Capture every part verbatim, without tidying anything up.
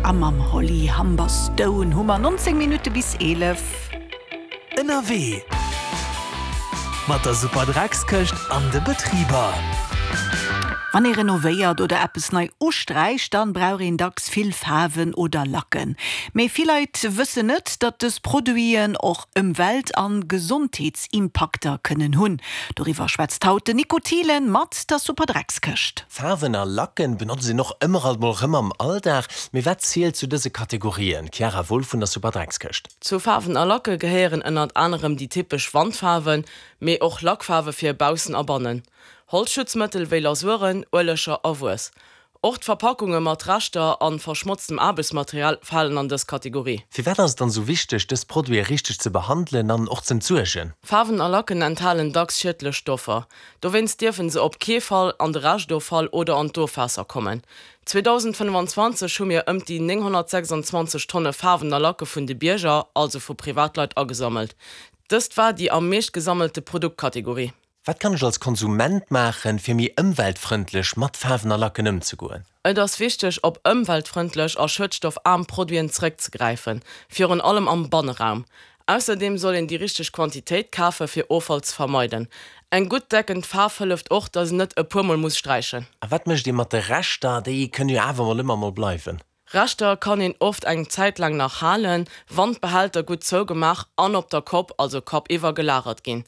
A mam Holly Humberstone hu mer nonzéng Minutte bis eelef. Ënnerwee mat der Superdreckskëscht an de Betriber. Wann ee renovéiert oder eppes nei usträicht, dann brauch een dacks vill Faarwen oder Lacken. Mee vill Leit wëssen net, datt dës Produiten och Ëmwelt an Gesondheetsimpakter kënnen hunn. Doriwwer schwätzt haut den Nico Thielen mat der Superdreckskëscht. Faarwen a Lacken benotzt een och ëmmer alt mol rëm am Alldag. Mee wat zielt zu dëse Kategorien? Chiara Wolff vun der Superdreckskëscht. Zu Faarwen a Lacke gehéieren ënnert anerem déi typesch Wandfaarwen, mee och Lackfaarwe fir baussen a bannen. Holzschutzmëttel wéi Lasuren, Ueleger a Wuess. Och d'Verpakunge mat Reschter a verschmotztem Aarbechtsmaterial falen an dës Kategorie. Firwat ass et dann esou wichteg, dës Produite richteg ze behandelen an och z'entsuergen? Faarwen a Lacken enthalen dacks schiedlech Stoffer. Dowéinst dierfe se op kee Fall an de Reschtoffall oder an d'Ofwaasser kommen. zweedausendfënnfanzwanzeg hu mir ëm déi nénghonnertsechsandzwanzeg Tonne Faarwen a Lacke vun de Bierger, also vu Privatleit, agesammelt. Dëst war déi am meescht gesammelte Produktkategorie. Wat kann ech als Konsument maachen, fir méi ëmweltfrëndlech mat Faarwen a Lacken ëmzegoen? Et ass wichteg, op ëmweltfrëndlech a schëdstoffaarm Produiten zeréckzegräifen, virun allem am Banneraum. Ausserdeem soll een déi richteg Quantitéit kafen, fir Offall ze vermeiden. Eng gutt deckend Faarf hëlleft och, datt een net e puer Mol muss sträichen. A wat mécht ee mat de Reschter? Déi kënnen jo awer mol ëmmer mol bleiwen. Reschter kann een oft eng Zäit laang nach halen, wann d'Behälter gutt zougemaach an op der Kopp, also kappiwwer, gelagert ginn.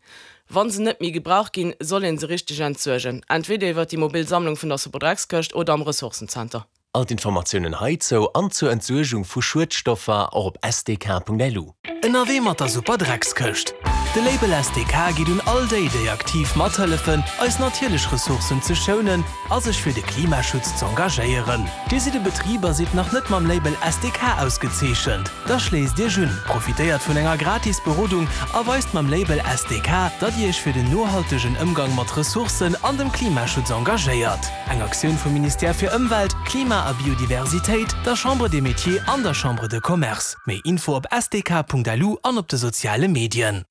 Wa se net méi gebraucht ginn, soll een se richteg entsuergen, entweder iwwer déi mobil Sammlung vun der Superdreckskëscht oder am Ressourcenzenter. All d'Informatiounen heizou an zur Entsuergung vu Schuedstoffer och op sdk.lu. Ënnerwee mat der Superdreckskëscht. De Label S D K geet un all déi, déi aktiv mathëllefen, eis natierlech Ressourcen ze schounen a sech fir de Klimaschutz z'engagéieren. Dir sidd e Betrib a sidd nach net mam Label S D K ausgezeechent? Da schléisst Iech un, profitéiert vun enger gratis Berodung a weist mam Label S D K, datt Dir Iech fir den nohaltegen Ëmgang mat Ressourcen an dem Klimaschutz engagéiert. Eng Aktioun vum Ministère fir Ëmwelt, Klima a Biodiversitéit, der Chambre des Métiers an der Chambre de Commerce. Méi Info op S D K Punkt L U an op de soziale Medien.